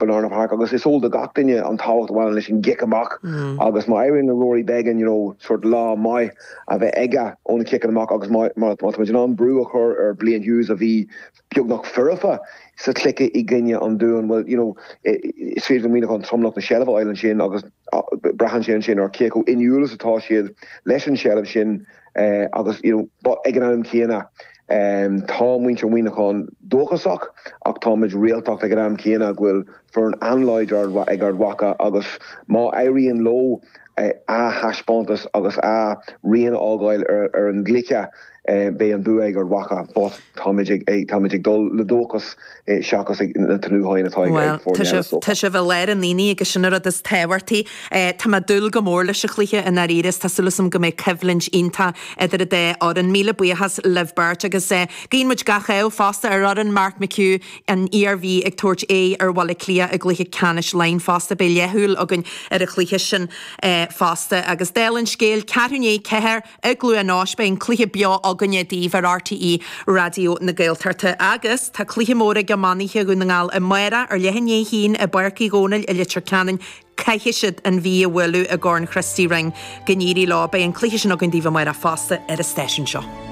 Banana Park agus is eol do gach duine an tábhacht a bhaineann leis an gcic amach agus má éiríonn le Rory Beggan you know sort lá maith a bheith aige ó na ciceanna amach agus má má tá muid in ann brú a chur ar Blaine Hughes a bhí beagnach foirfe sa chluiche i gcoinne an Dúin well you know is féidir le Muineachán tromlach na seilbhe a fháil ansin agus braitheann sé ansin ar cé chomh inniúil is atá siad leis an seilbh sin agus you know ag an am céanna tá muintir Mhuineacháin dóchasach ach táimid réaltach ag an am céanna go bhfuil foireann an-láidir ag Ard Mhacha agus má éiríonn leo a thaispeántas agus a rian a fhágáil ar an gcluiche beidh an bua ag Ard Mhacha but táimid ag táimid ag dul le dóchas seachas ag na tnútháin atá ag Bhuel, foirne tá eile sibh, is dócha. tá sibh i lár an aonaigh agus sin an rud is tábhachtaí. Tá mé ag dúil go mór leis an chluiche i ndáiríre is tá súil agam go mbeidh coimhlint iontach idir an dá fhoireann. Míle buíochas libh beirt agus guíonn muid gach ádh fosta ar fhoireann Mark McHugh, an Iarmhí ag tabhairt aghaidh ar Bhaile Átha Cliath i gcluiche ceannais Laighean fosta. Beidh leathshúil againn ar an chluiche sin fosta. Agus dála an scéil, ceathrú i ndiaidh 4 i gCluain Eois, beidh an cluiche beo againne daoibh ar RTÉ Raidió na Gaeltachta. Agus tá cluiche mór ag iománaithe Dhún na nGall amárach ar leath i ndiaidh a haon i bPáirc Uí Dhónaill i Leitir Ceanainn. Caithfidh siad an Mhí a bhualadh i gCorn Christy Ring. Go n-éirí leo. Beidh an cluiche sin againn daoibh amárach fosta ar an stáisiún seo.